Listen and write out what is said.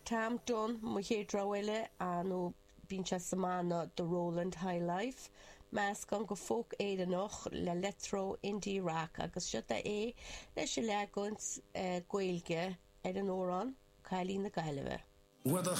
Tom Dunne, mo chéad rogha eile, nó bíonn sé sa mbanna The Roland High Life, meascán de folk Éireannach le leictreó indie rock agus seo é leis an leagan Gaeilge ar an amhrán Cailín na Gaillimhe. Whether.